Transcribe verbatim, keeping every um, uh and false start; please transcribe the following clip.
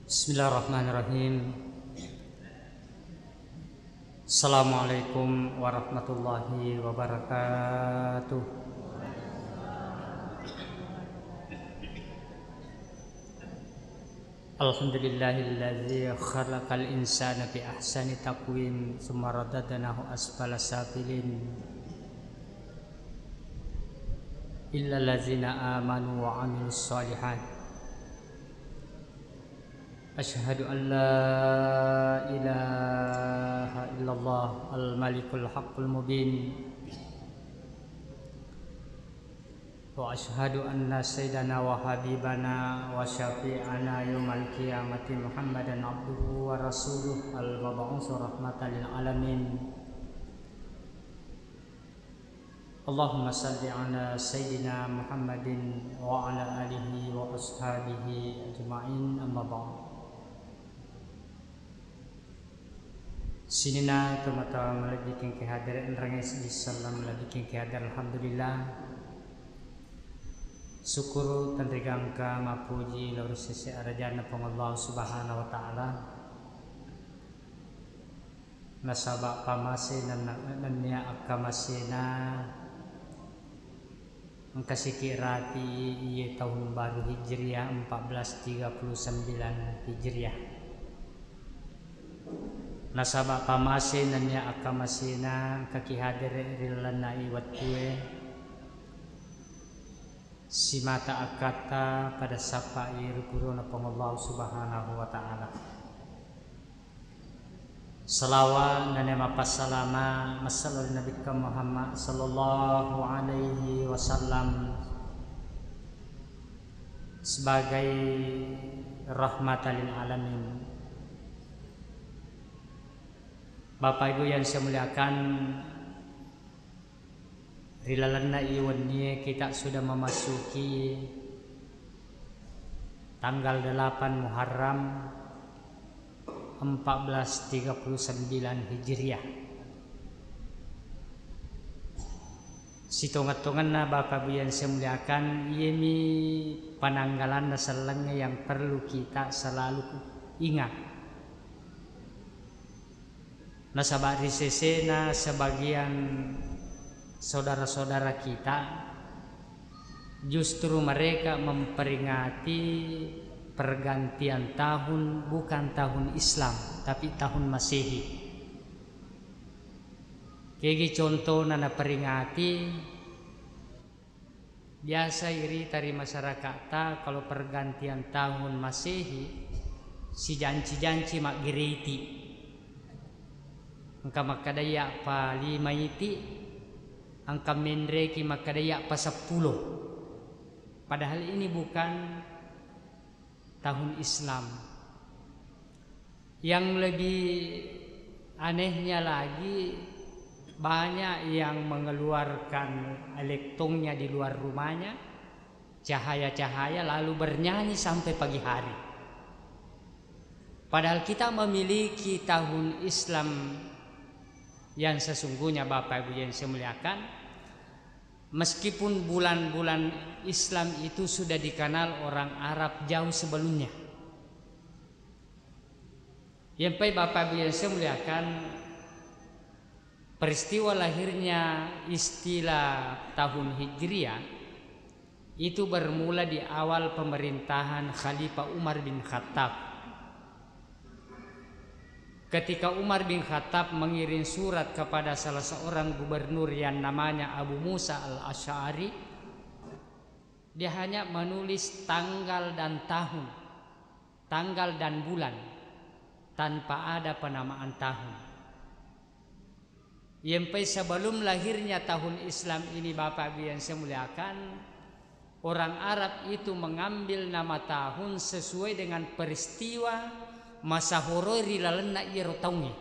Bismillahirrahmanirrahim. Assalamualaikum warahmatullahi wabarakatuh. Alhamdulillahilladzi khalaqal insana fi ahsani taqwim, tsumma radadnahu asfala safilin. Illalladzina amanu wa amilus shalihat. Asyhadu an la ilaha illallah al-malikul haqqul mubin. Wa asyhadu anna sayyidana wa habibana wa syafi'ana yaumal qiyamati Muhammadan abduhu wa rasuluh al-mab'usu rahmatan lil alamin. Allahumma salli ala sayyidina Muhammadin wa ala alihi wa ashabihi ajma'in, amma ba'd. Sininna tomatoa malebbiking ki hadere, enrengnge seddi selleng malebbiking ki hadere, alhamdulillah. Sukkuru tenrigangka mappuji lao ri sese arajanna Puang Allah Subhanahu wa Ta'ala. Nasaba pamase nenna-, nennia akkamasena engka siki rati iye tahun baru Hijriah empat belas tiga puluh sembilan Hijriah. Nasaba pamase nennia akkamasena engka ki hadere ri lalenna i wettue, simata akkatta pada sappai ri purona Puang Allah Subhanahu wa Ta'ala. Salawat nennia mappasalama massalo ri Nabikka Muhammad sallallahu alaihi wasallam sebagai rahmatan lil alamin. Bapak Ibu yang saya muliakan, ri lalenna i wennie kita sudah memasuki tanggal delapan Muharram empat belas tiga puluh sembilan Hijriah. Sitongeng-tongenna Bapak Ibu yang saya muliakan, iyemi penanggalanna sellengnge yang perlu kita selalu ingat. Nasaba ri sesena sebagian saudara-saudara kita, justru mereka memperingati pergantian tahun bukan tahun Islam, tapi tahun Masehi. Kegi contona naperingati? Biasa irita ri masyaraka'ta, kalau pergantian tahun Masehi, sijanci-janci maggereti. Engka makkadai appa lima iti, engka menreki makkadai appa seppulo. Padahal ini bukan tahun Islam. Yang lebih anehnya lagi, banyak yang mengeluarkan elektronnya di luar rumahnya, cahaya-cahaya, lalu bernyanyi sampai pagi hari. Padahal kita memiliki tahun Islam yang sesungguhnya, Bapak Ibu yang saya muliakan, meskipun bulan-bulan Islam itu sudah dikenal orang Arab jauh sebelumnya. Yempai Bapak Ibu yang saya muliakan, peristiwa lahirnya istilah tahun Hijriah itu bermula di awal pemerintahan Khalifah Umar bin Khattab. Ketika Umar bin Khattab mengirim surat kepada salah seorang gubernur yang namanya Abu Musa Al-Asy'ari, dia hanya menulis tanggal dan tahun, tanggal dan bulan, tanpa ada penamaan tahun. Yempai sebelum lahirnya tahun Islam ini, Bapak Ibu yang saya muliakan, orang Arab itu mengambil nama tahun sesuai dengan peristiwa masahoroi ri lalenna iyaro taungnge.